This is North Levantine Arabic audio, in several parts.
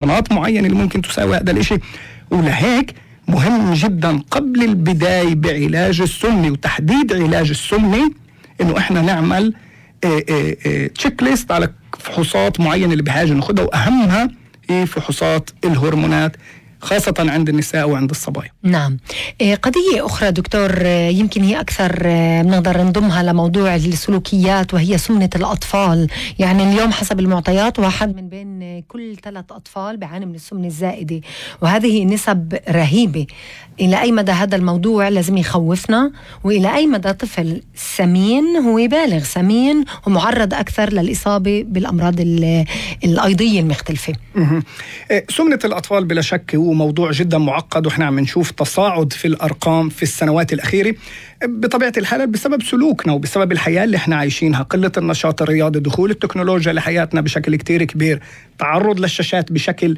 مناطق معينة اللي ممكن تساوي هذا الاشي. ولهيك مهم جدا قبل البداية بعلاج السمنة وتحديد علاج السمنة انه احنا نعمل تشيك ليست على فحوصات معينة اللي بحاجة ناخدها، واهمها هي فحوصات الهرمونات خاصة عند النساء وعند الصبايا. نعم. قضية أخرى دكتور يمكن هي أكثر بنقدر نضمها لموضوع السلوكيات، وهي سمنة الأطفال. يعني اليوم حسب المعطيات 1 من بين كل 3 أطفال بيعاني من السمنة الزائدة، وهذه نسب رهيبة. إلى أي مدى هذا الموضوع لازم يخوفنا، وإلى أي مدى طفل سمين هو بالغ سمين ومعرض أكثر للإصابة بالأمراض الأيضية المختلفة؟ سمنة الأطفال بلا شك هو موضوع جدا معقد، وإحنا عم نشوف تصاعد في الأرقام في السنوات الأخيرة بطبيعة الحال بسبب سلوكنا وبسبب الحياة اللي احنا عايشينها، قلة النشاط الرياضي، دخول التكنولوجيا لحياتنا بشكل كتير كبير، تعرض للشاشات بشكل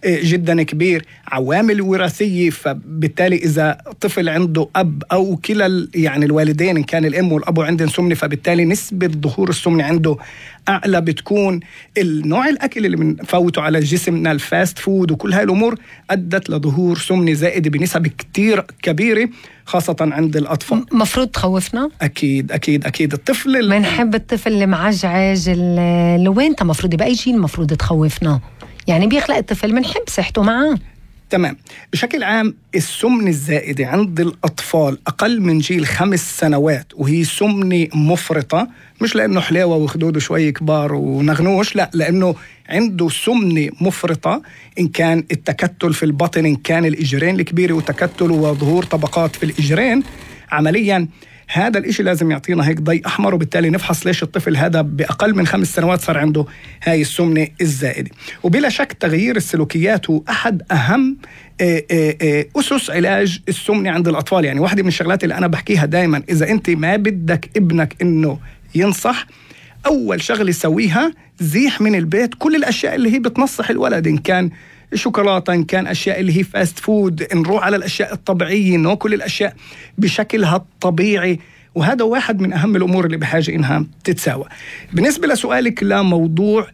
جدا كبير، عوامل وراثية. فبالتالي إذا طفل عنده أب أو كلا يعني الوالدين إن كان الأم والأب عندهم سمنة، فبالتالي نسبة ظهور السمنة عنده أعلى. بتكون النوع الأكل اللي بنفوته على جسمنا الفاست فود وكل هاي الأمور أدت لظهور سمنة زائدة بنسب كتير كبيرة خاصة عند الأطفال. مفروض تخوفنا؟ أكيد أكيد أكيد. الطفل ما نحب الطفل اللي معجعج اللي وين مفروض بأي شيء المفروض تخوفنا؟ يعني بيخلق الطفل منحب صحته معاه. تمام. بشكل عام السمنة الزائدة عند الأطفال أقل من جيل 5 سنوات وهي سمنة مفرطة، مش لأنه حلاوة وخدوده شوي كبار ونغنوش، لا، لأنه عنده سمنة مفرطة، إن كان التكتل في البطن، إن كان الإجرين الكبيرة وتكتل وظهور طبقات في الإجرين. عمليا هذا الإشي لازم يعطينا هيك ضي أحمر، وبالتالي نفحص ليش الطفل هذا بأقل من 5 سنوات صار عنده هاي السمنة الزائدة. وبلا شك تغيير السلوكيات هو أحد أهم أسس علاج السمنة عند الأطفال. يعني واحدة من الشغلات اللي أنا بحكيها دايما، إذا أنت ما بدك ابنك إنه ينصح، أول شغلة سويها زيح من البيت كل الأشياء اللي هي بتنصح الولد، إن كان شوكولاتة، إن كان أشياء اللي هي فاست فود، نروح على الأشياء الطبيعية، ناكل الأشياء بشكلها الطبيعي. وهذا واحد من أهم الأمور اللي بحاجة إنها تتساوى. بالنسبة لسؤالك لموضوع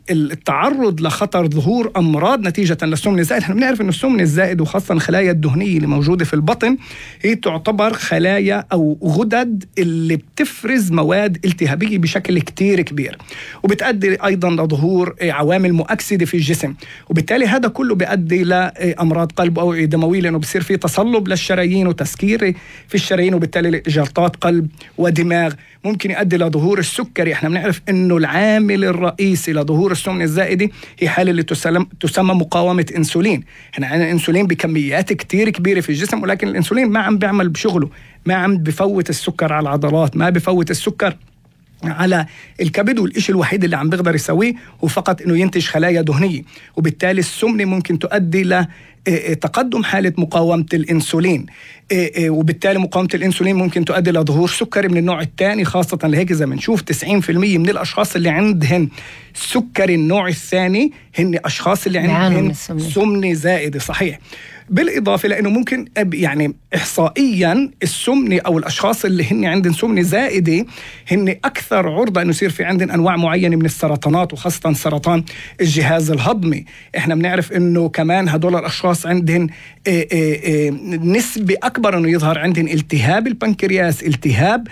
التعرض لخطر ظهور أمراض نتيجة للسمنة الزائد، احنا بنعرف أن السمنة الزائد وخاصة الخلايا الدهنية اللي موجودة في البطن هي تعتبر خلايا أو غدد اللي بتفرز مواد التهابية بشكل كتير كبير، وبتؤدي أيضا لظهور عوامل مؤكسدة في الجسم، وبالتالي هذا كله بيؤدي لأمراض قلب أو دموية، لأنه بصير في تصلب للشرايين وتسكير في الشرايين، وبالتالي جلطات قلب ودماغ. ممكن يؤدي لظهور السكري. احنا بنعرف انه العامل الرئيسي لظهور السمنة الزائدة هي حالة اللي تسمى مقاومة انسولين. احنا عندنا انسولين بكميات كتير كبيرة في الجسم، ولكن الانسولين ما عم بيعمل بشغله، ما عم بفوت السكر على العضلات، ما بفوت السكر على الكبد، والإشي الوحيد اللي عم بيقدر يسويه هو فقط انه ينتج خلايا دهنية. وبالتالي السمنة ممكن تؤدي لتقدم حالة مقاومة الانسولين، وبالتالي مقاومة الانسولين ممكن تؤدي لظهور سكري من النوع الثاني، خاصة لهيك إذا بنشوف 90% من الأشخاص اللي عندهم سكري النوع الثاني هن أشخاص اللي عندهم سمنة زائدة. صحيح. بالإضافة لأنه ممكن يعني إحصائيا السمنة أو الأشخاص اللي هن عندهم سمنة زائدة هن أكثر عرضة أنه يصير في عندهم أنواع معينة من السرطانات، وخاصة سرطان الجهاز الهضمي. إحنا بنعرف أنه كمان هدول الأشخاص عندهم نسبة أكبر أنه يظهر عندهم التهاب البنكرياس، التهاب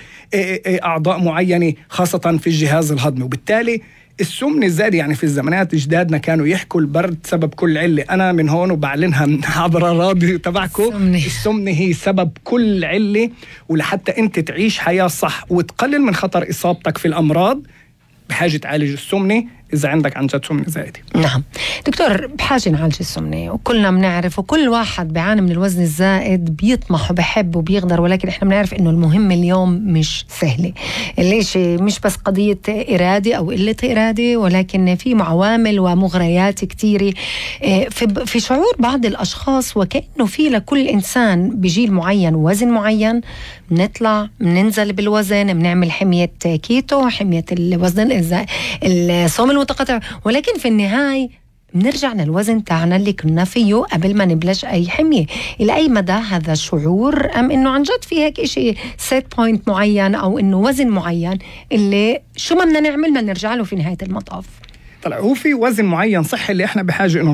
أعضاء معينة خاصة في الجهاز الهضمي. وبالتالي السمنة الزائدة، يعني في الزمانات جدادنا كانوا يحكوا البرد سبب كل علة، أنا من هون وبعلنها عبر الراديو تبعكم، السمنة هي سبب كل علة. ولحتى أنت تعيش حياة صح وتقلل من خطر إصابتك في الأمراض بحاجة تعالج السمنة إذا عندك عن جد سمنة زائدة. نعم دكتور، بحاجة نعالج السمنة، وكلنا بنعرف وكل واحد بيعاني من الوزن الزائد بيطمح وبيحب وبيقدر، ولكن إحنا بنعرف إنه المهم اليوم مش سهلة. ليش؟ مش بس قضية إرادة أو قلة إرادة، ولكن في عوامل ومغريات كتيرة في شعور بعض الأشخاص، وكأنه في لكل إنسان بجيل معين وزن معين، بنطلع بننزل بالوزن، بنعمل حمية كيتو، حمية الوزن الصوم المتقطع، ولكن في النهاية بنرجع للوزن تاعنا اللي كنا فيه قبل ما نبلش أي حمية. إلى أي مدى هذا الشعور، أم إنه عن جد في هيك إشي سيت بوينت معين أو إنه وزن معين اللي شو ما بدنا نعمل ما نرجع له في نهاية المطاف؟ طلع هو في وزن معين صحي اللي احنا بحاجه انه